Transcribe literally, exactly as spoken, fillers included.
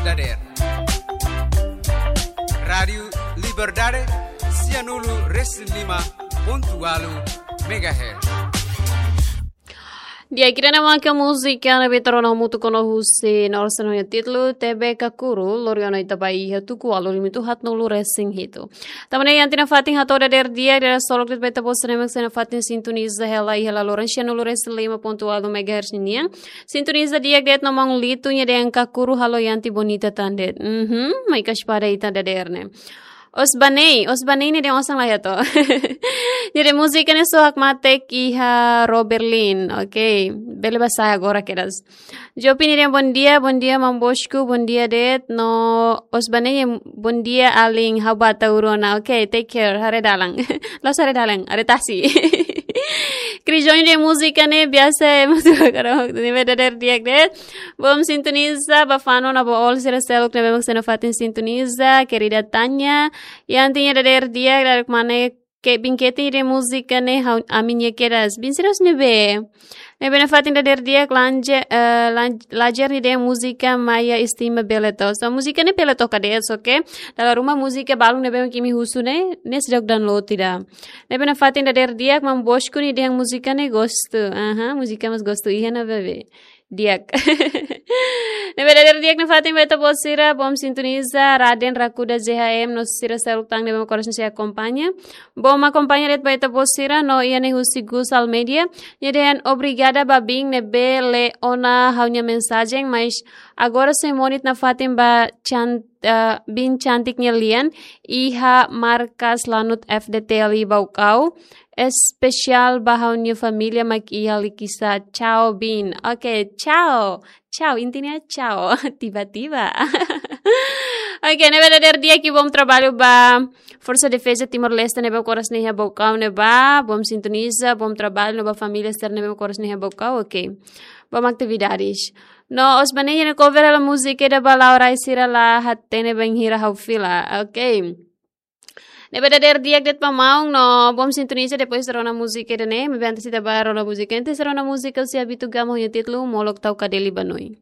dadeer. Rádiu Liberdade, sianulu resin lima pontu ualu megahertz. Di'ak, ida-ne'e mak múzika ne'ebé ita rona hamutuk ona husi Norsen ho nia títulu T B Kakuru, lori ona ita ba iha tuku ualu limitu haatnulu resin hitu. Tanba ne'e iha ita-nia fatin hato'o dadeer di'ak, dadeer solok de'it ba ita-boot sira ne'ebé mak sei nafatin sintoniza hela iha laloran sianulu resin lima pontu ualu megahertz ninian. Sintoniza di'ak de'it no maun Litu nia dehan Kakuru halo iha ita bonita tan de'it. Mhm, mai kas pada ita dadeer ne'e. Osbanei, Osbanei ne'e dehan osan la ya to. Jadi múzika ne'e sohak mate iha Roberlin. Oke, bele ba sa'e agora kedas. Jopi nia dehan bom dia, bom dia maun Bosco, bom dia de'it. No Osbanei, bom dia alin, ha'u ba atu rona. Oke, take care, haree dalan. La'ós haree dalan, haree tasi. Krijon nia múzika ne'e biasa, múzika karau, ne'ebé dadeer di'ak de'it. Bom sintoniza ba Fano no ba Ol sira seluk ne'ebé mak sei nafatin sintoniza, querida Tanya. Iha ita-nia dadeer di'ak, dadeer mane ke bin keti de múzika ne'e ha'u, ami-nia kedas. Bin sira husi ne'ebé? Ne'ebé nafatin dadeer di'ak lanje, eh, lan-, lajer nia dehan múzika Maia Estima bele to'o. So, múzika ne'e bele toka de'it, oke? Dala ruma múzika balun ne'ebé mak imi husu ne'e, ne'e seidauk download ida. Ne'ebé nafatin dadeer di'ak maun Bosco nia dehan múzika ne'e gostu. Aha, múzika mós gostu iha ona bebé. Di'ak. Ne'ebé dadeer di'ak nafatin ba ita-boot sira, bom sintoniza, Raden Rakuda Z H M, no sira seluk tan ne'ebé mak oras ne'e sei akompaña. Bom akompaña de'it ba ita-boot sira, no iha ne'e husi Gus Almeida. Nia dehan obrigada ba bin ne'ebé lee ona ha'u-nia mensajen, mas agora sei monit nafatin ba can-, eh, bin cantik nia lian, iha markas Lanut F D T L I Baucau. Espesiál ba ha'u-nia família mak iha Likisá. Ciao, bin. Oke, ciao. Ciao, intinya ciao. Tiba-tiba. Oke, ne'ebé dadeer di'ak, bom trabalho ba Forsa Defeza Timor-Leste ne'ebé mak oras ne'e iha Baucau ne'ebá. Bom sintoniza, bom trabalho no ba família sira ne'ebé mak oras ne'e iha Baucau. Oke. Bom atividades. No Osbanei nia cover hela múzika ida ba la'o rai sira la hatene bainhira ha'u fila. Oke. Ne'ebé dadeer di'ak de'it ba maun no bom sintoniza, depois rona múzika ida-ne'e, maibé antes ita ba rona múzika, antes rona múzika husi Abito Gama ho nia títulu Molok Tau Kadeli Banoi.